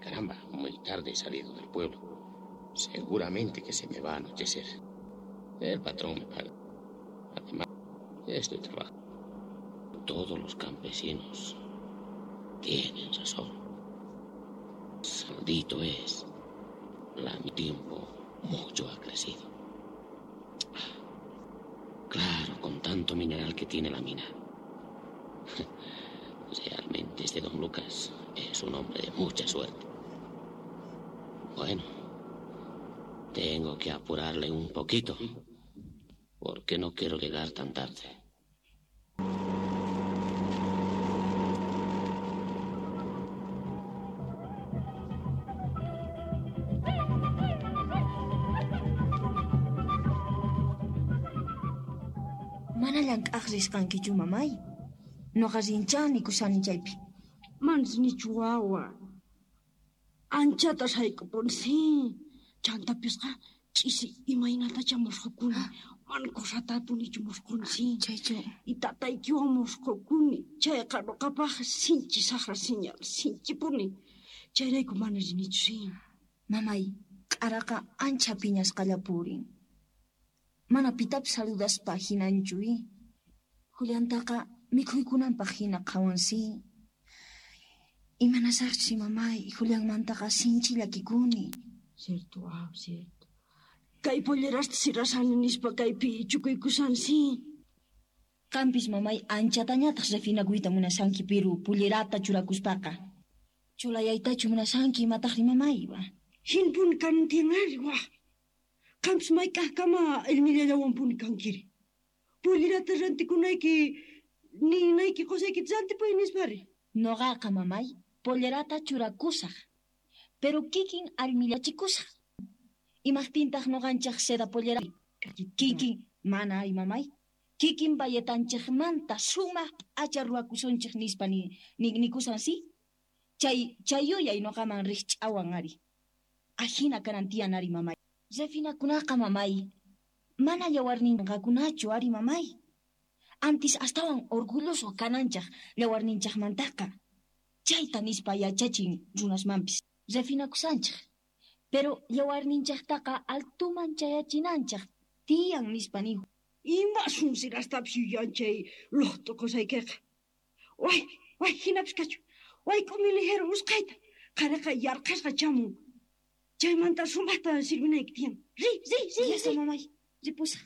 Caramba, muy tarde he salido del pueblo. Seguramente que se me va a anochecer. El patrón me paga. Además, estoy trabajando. Todos los campesinos tienen razón. Maldito es. La mi tiempo mucho ha crecido. Claro, con tanto mineral que tiene la mina. Realmente este don Lucas es un hombre de mucha suerte. Bueno, tengo que apurarle un poquito, porque no quiero llegar tan tarde. Mana llank'aq risqankichu mamay. Noqa rinchani kushani chaypi. Manas nichu wawa. Anchata sayk'upunsi. Chantapisqa ch'isi imaynatacha musqhukuni. Mana kusatapunichu musqhunsi. Chaychu. Y tataykiwan musqhukuni. Chayqa nuqapaq sinchi saqra señal, sinchipuni. Chayrayku mana rinichu si. Mamay, k'araqa ancha phiñasqalla purin. Mana pitapis saludaspa hinanchu i. Juliantaqa mikhuykunanpaq hina qhawansi. Imanasaqchis mamay, Julianmantaqa sinchi llakikuni. Cierto, ah, cierto. Kay pollerasta sirasani nispa kaypi chukuykusansi. Qampis mamay anchatañataq refinakuyta munashanki piru pullerata churakuspaqa. Chulayaytachu munashanki imataqri mamay wa. Hinpuni kanan tiyan ari wa. Qampis mayk'aqkama allmillallawanpuni kankiri. Pollerata rantikunayki ninayki qusaykita rantipuy nispari. Noqaqa mamay pollerata churakusaq, pero kikin allmillachikusaq. Imaqtintaq noqanchaq seda pollera kikin mana ay mamay. Kikin bayetanchikmanta sumaq p'acha ruwakusunchik nispa ni, ni nikusan si. Chay chay yuyay noqaman riqch'awan ari. Ajina kanan tiyan ari mamay. Refinakunaqa mamay. Mana yawarninqakunachu ari mamay. Antis astawan orgulloso kananchaq yawarninchaqmantaqa. Chayta nispa yachachin runasmanpis. Refinakusanchik. Pero yawarninchaqtaqa altuman chayachinanchaq tiyan nispa nihu. Ima sunsirastapis yuyan chay luqtu qusaykiqa. Way, way, hinapis kachu. Wayk'umi ligero usqhayta. Qhariqa yarqhasqa chamun. Chaymanta sumaqta sirvinayki tiyan. Riy, riy, riy, Ya está riy. mamay. Ripusaq.